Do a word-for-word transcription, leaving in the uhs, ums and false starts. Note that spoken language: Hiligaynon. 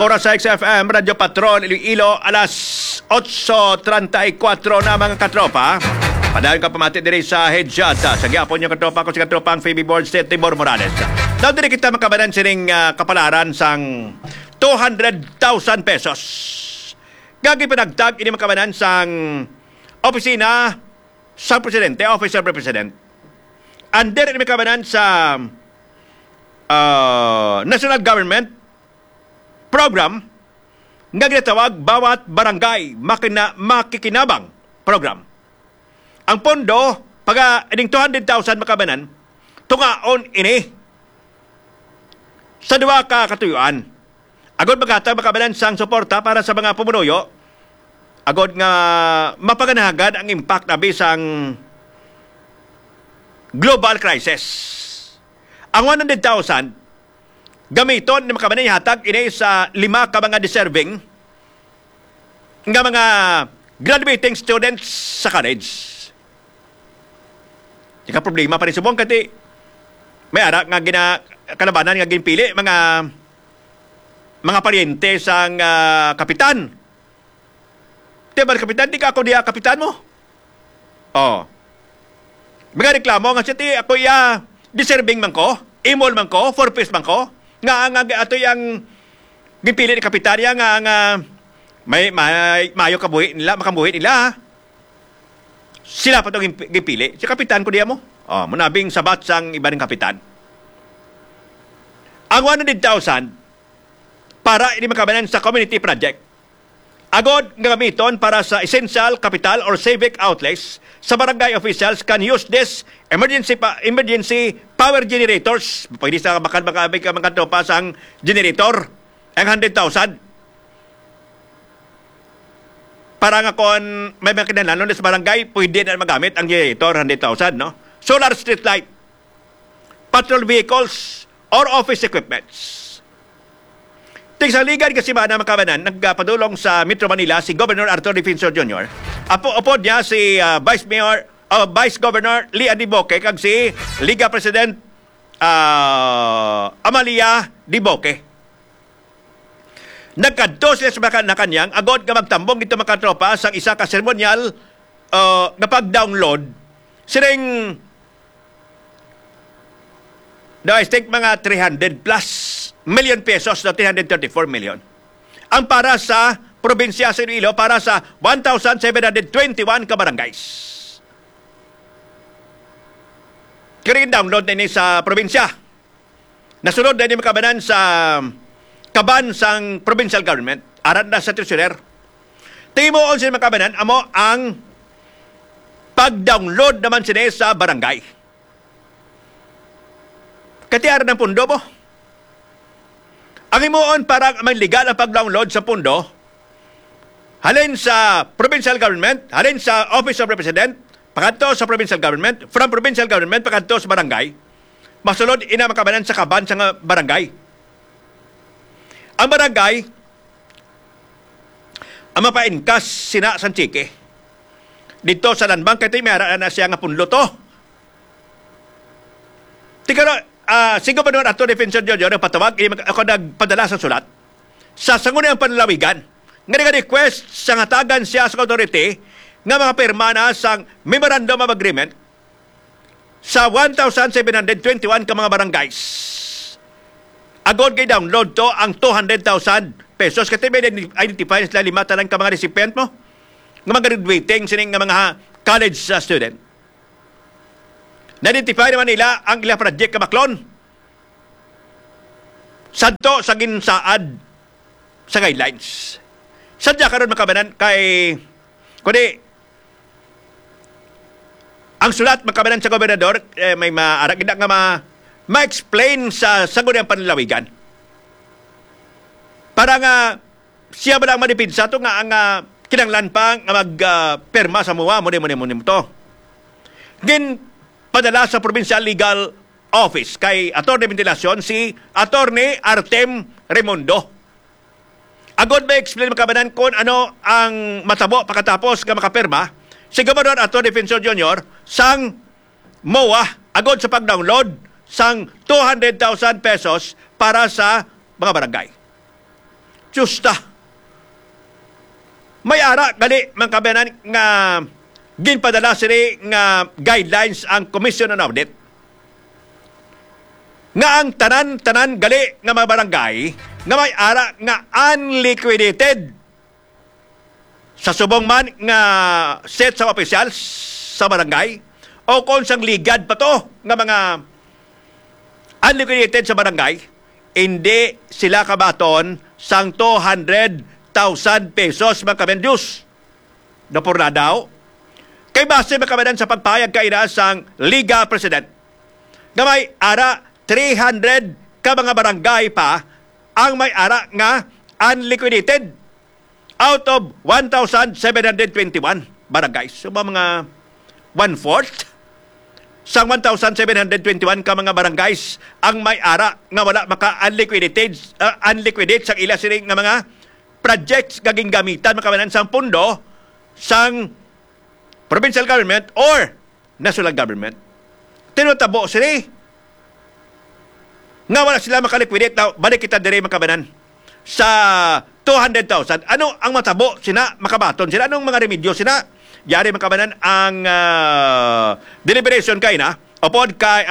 Oras sa X F M, Radyo Patrol, Iloilo, alas otso treinta y cuatro na, mga katropa. Padayon ka pamati diri sa Hedyata. Sa gihapon niyo, katropa, ko si katropang Phoebe Borges, Timor Morales. Now, diri kita makabanan sining, ah, kapalaran sang two hundred thousand pesos. Gagi panagtag ini makabanan sang opisina sa presidente, Office of the President. Under ini makabanan sa, ah, national government program nga ginatawag Bawat Barangay Makina-, Makikinabang Program. Ang pondo, pag, ah, ining two hundred thousand makabanan, tungaon ini sa duha ka katuyuan. Agod maghatag makabanan sang suporta para sa mga pumunuyo, agod nga mapaganahagan ang impact abi sang global crisis. Ang one hundred thousand, gamiton ni makabanan ihatag ini sa lima ka mga deserving nga mga graduating students sa college. Di ka problema pa rin subong, kati may ara nga gina-, kalabanan nga ginpili, mga, mga paryente sang, ah, kapitan. Di ba, kapitan, di ka ako diya kapitan mo? Oh. Mga reklamo nga siya, ti, ako iya, deserving man ko, imol man ko, four Ps man ko, nga ang, ang ato yang gipili ni kapitan niya nga, nga may, may, mayo kabuhi nila, makabuhi nila. Sila pa to gimp-, gipili. Si kapitan ko diya mo. Oh, munabing sabat sang iba ng kapitan. Ang one hundred thousand para ini makabanan sa community project. Agod nga gamiton para sa essential capital or civic outlays sa barangay officials can use this emergency pa, emergency power generators. Pwede sa bakal maka-, maka-, makatropa sang generator, ang hundred thousand. Para nga kon may mga kinahanglan sa barangay, pwede na magamit ang generator, hundred thousand, no? Solar street light, patrol vehicles, or office equipments. Tig sa ligad ka simana, makabanan, nagpadulong sa Metro Manila si Governor Arthur Defensor Junior. Apo, upod niya si, ah, Vice Mayor, ah, Vice Governor Lee Andy Boque kag si Liga President, ah, Amalia Diboque. Nagkadto sila sa Malacañang agod nga magtambong dito, mga katropa, sang isa ka seremonyal, ah, nga pag-download sining, no, I think mga three hundred plus million pesos, no, three hundred thirty-four million. Ang para sa probinsya sa Iloilo, para sa one thousand seven hundred twenty-one ka barangays. Kini download na ini sa probinsya. Nasunod na ini makabanan sa kaban sang provincial government. Aran na sa treasurer. Timuon sila makabanan, amo ang pag-download naman sini sa barangay. Katiaran ng pundo mo. Ang himuon para may legal ang pag-download sa pundo, halin sa provincial government, halin sa Office of Representative, pakadto sa provincial government, from provincial government, pakadto sa barangay, masulod ina makabanan sa kaban sa nga barangay. Ang barangay, ang mapainkas sina sang tseke. Dito sa Land Bank, kay may ara na siya nga punlo to. Tigaro, ah, si Gobernador Arthur Defensor Junior nagpatawag, ini mag-, ako nagpadala sa sulat sa Sangguniang Panlalawigan nga nag-request sa ngatagan siya sa authority nga mga pirma na sang Memorandum of Agreement sa one thousand seven hundred twenty-one ka mga barangays. Agod kay download to ang two hundred thousand pesos. Kasi may identi-, identify sila lima tanan ka mga recipient mo, nga mga graduating sining nga mga college, uh, student. Na-identify naman nila ang ilang project kabaklon. Sadto sa ginsaad sa guidelines. Sadya karon makabanan kay, kundi, ang sulat makabanan sa gobernador, eh, may maarag na nga ma-, ma-explain sa Sangguniang Panlalawigan. Para nga siya ba lang madipinsa to nga ang, ah, kinanglan pa nga mag, ah, perma sa mua, mo ni, mo ni, mo ni mo to. Gin padala sa Provincial Legal Office kay Attorney Ventilacion si Attorney Artem Remundo. Agod ma-explain makabanan kung ano ang matabo pagkatapos nga makapirma si Gobernador Arthur Defensor Junior sang mua agod sa pag-download sang two hundred thousand pesos para sa mga barangay. justa. May ara gali, mga kabayanan, nga ginpadala sini nga guidelines ang Commission on Audit, nga ang tanan-tanan gali nga mga barangay nga may ara nga unliquidated sa subong man nga set sa opisyal sa barangay o kung sang ligad pa to nga mga unliquidated sa barangay, hindi sila kabaton sang two hundred thousand pesos, mga kabayan, Diyos. Napurna daw. Kay base, mga kabayan, sa pagpahayag kaina sang Liga President, nga may ara three hundred ka mga barangay pa ang may ara nga unliquidated out of one thousand seven hundred twenty-one barangays. So, mga one-fourth sang one thousand seven hundred twenty-one ka mga barangays ang may ara nga wala maka-unliquidated, ah, unliquidate sang ila sini nga mga projects nga gingamitan, mga kabayanan, sang pondo sang provincial government or national government. Tinutabo sini nga wala sila makaliquidate. Now, balik kita diri, mga kabayanan, sa two hundred thousand. Ano ang matabo sina, makabaton sila? Anong mga remedyo sina? Yari, mga kabayanan, ang, ah, deliberation kaina upod kay